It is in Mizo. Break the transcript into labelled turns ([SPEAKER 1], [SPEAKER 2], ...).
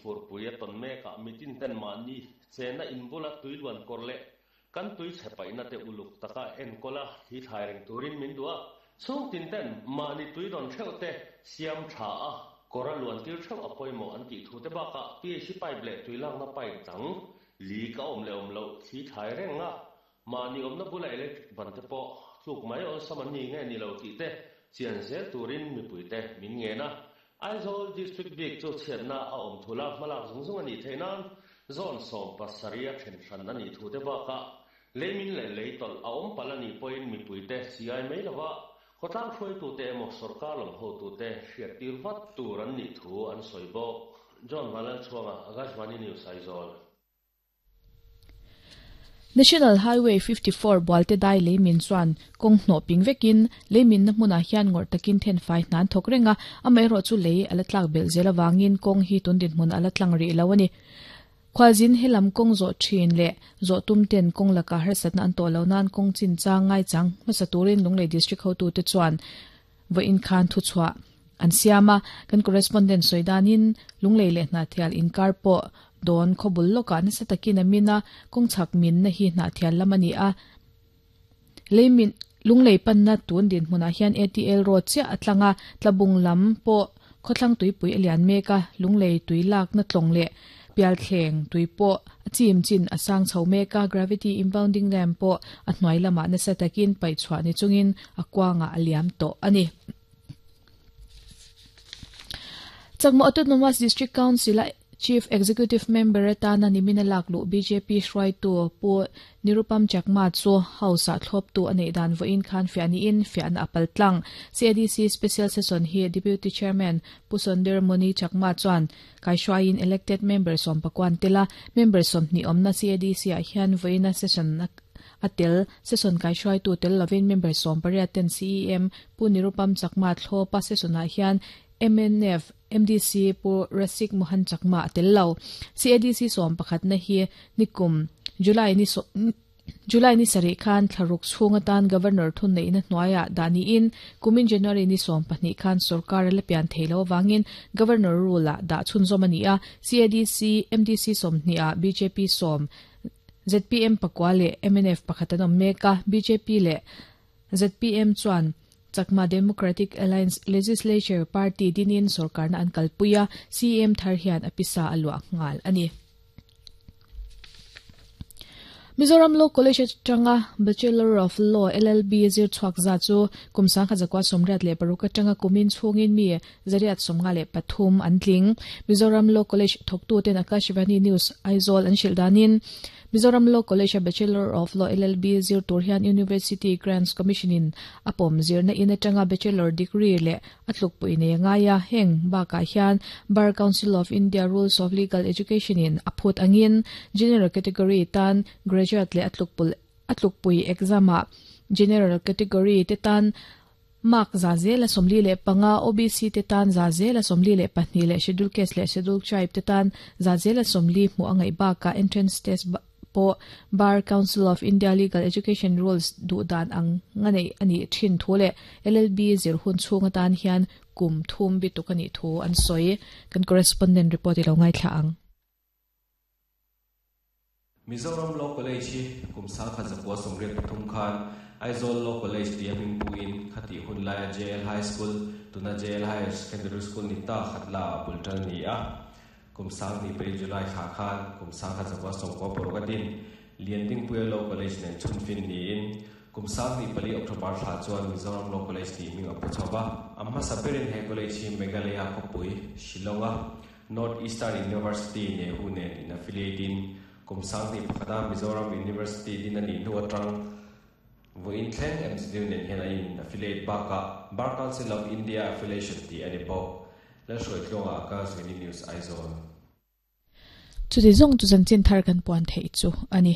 [SPEAKER 1] Furpui a tawn mekah mitin ten mahni chenna in bula tui luan kawr leh kan tui chhe paihna te uluk taka enkawl a thli thlai reng turin min duh a, chhungtin ten mahni tui rawn theuh te siam tha a, kawr a luan tir theuh a pawimawh an tih thu te bakah PHC pipe leh tui lakna pipe dang leak a awm leh awm loh thli thlai reng a, mahni awmna bula electric ban te pawh tluk mai awlsam an ni nge ni lo tih te chian zel turin mipui te min ngen a. Aizawl District bik chu chhiatna a awm thul a, hmalak zung zung a nih theih nan zone 70 a then hran a nih thu te bakah leimin leh lei tawlh a awm palh a nih pawhin mipui te chiai mai lova khawtlang hruaitute emaw sawrkar lam hotute hriattir vat tur an nih thu an sawi bawk. John Vanlalchhuanga, Akashvani News, Aizawl.
[SPEAKER 2] National Highway 54 Bualte dai leimin chuan kawng hnawh ping vekin leiminna hmunah hian ngawrh takin thenfai hna an thawk reng a, amaherawhchu lei a la tlak belh zel avangin kawng hi tun dinhmun a la tlang rih lo a ni. Khualzin helam kawng zawh thin leh zawh tum ten kawng lakah harsatna an tawh lo nan kawng chinchang ngaichang hmasa turin Lunglei District hotute chuan Vawiin khan thuchhuah an siam a, kan correspondent sawi danin Lunglei leh Hnahthial inkar pawh dawn khawbul lawkah nasa takin a min a, kawngchhak minna hi Hnahthial lam a ni a. Leimin Lunglei panna tun dinhmunah hian ATL road chiah a tlang a, Tlabung lam pawh khawthlang tuipui a lian mek a, Lunglei tui lakna tlawng leh Pialthleng tui pawh a chim chin a sang chho mek a, gravity impounding dam pawh a hnuai lamah nasa takin paih chhuah ni chungin a kuangah a liam tawh a ni. Chakma Autonomous District Council-a Chief Executive Member atana nimina lak luh bjp hruaitu Pu Nirupam Chakma chu House-ah thlawptu a neih dan vawiin khan fiah niin fiahna a pal tlang. CADC Special Session hi Deputy Chairman Pu Sondir Moni Chakma chuan Kaihruaiin elected member sawmpakuan tel a, member 20 awmna CADC-ah hian vawiina session a tel. Session kaihruaitu tel lovin member 18 ten CEM Pu Nirupam Chakma thlawpa session-ah hian mnf MDC Pu Rasik Mohan Chakma a tel lo. CADC sawmpakhatna hi nikum July ni July ni sarih khan thlaruk chhung atan Governor thunneihna hnuaiah dah niin kumin January ni 12 khan sorkar a la pian thei lo avangin Governor rule-ah dah chhunzawm a ni a, CADC, MDC 20 ah bjp sawm, zpm pakua leh mnf pakhat an awm mek a, bjp leh zpm chuan Chakma Democratic Alliance Legislature Party dinin sorkarna an kalpui a, CM thar hian a pisa a luah nghal a ni. Mizoram Law College atanga Bachelor of Law, LLB, zir chhuak za chu kum 1986 atanga kumin chhungin mi 153 an tling. Mizoram Law College thawktuten Akashvani News Aizawl an hrilh danin Mizoram Law College-a Bachelor of Law, LLB, zir tur hian University Grants Commission-in a pawm zirna in atanga Bachelor degree leh a tlukpui nei a ngai a, heng bakah hian Bar Council of India Rules of Legal Education-in a phut angin General Category tan Graduate leh a tlukpul a tlukpui exam-ah General Category te tan mark 45%, OBC te tan 42% leh Schedule Caste leh Schedule Tribe te tan 40% hmuh a ngaih bakah Entrance Test pawh Bar Council of India Legal Education Rules duh dan ang nga neih a nih thin thu leh LLB zir hun chhung atan hian kum thum bituk a nih thu an sawi. Kan correspondent report i lo ngaithla ang.
[SPEAKER 3] Mizoram Law College hi kum 1983 khan Aizawl Law College tia hming puin khatih hun laia JL High School, tuna JL Higher Secondary School ni ta khat la a bul tan a ni a. Kum 2004 July thla khan kum 1996 a din Liandingpuia Law College nen chhunfin niin kum 24 October thla chuan Mizoram Law College tih hming a pu chho va. A hmasa berin he college hi Meghalaya khawpui, Shillong-a North Eastern University Nehu nen in affiliate in kum 21 a Mizoram University din a nih hnu atang vawiin thleng MZU nen hian a in affiliate bakah Bar Council of India affiliation tih a ni bawk. Lalhruaitluanga ka Zuini News Aizawl.
[SPEAKER 2] Chuti zawng chu chanchin thar kan puan theih chu a ni.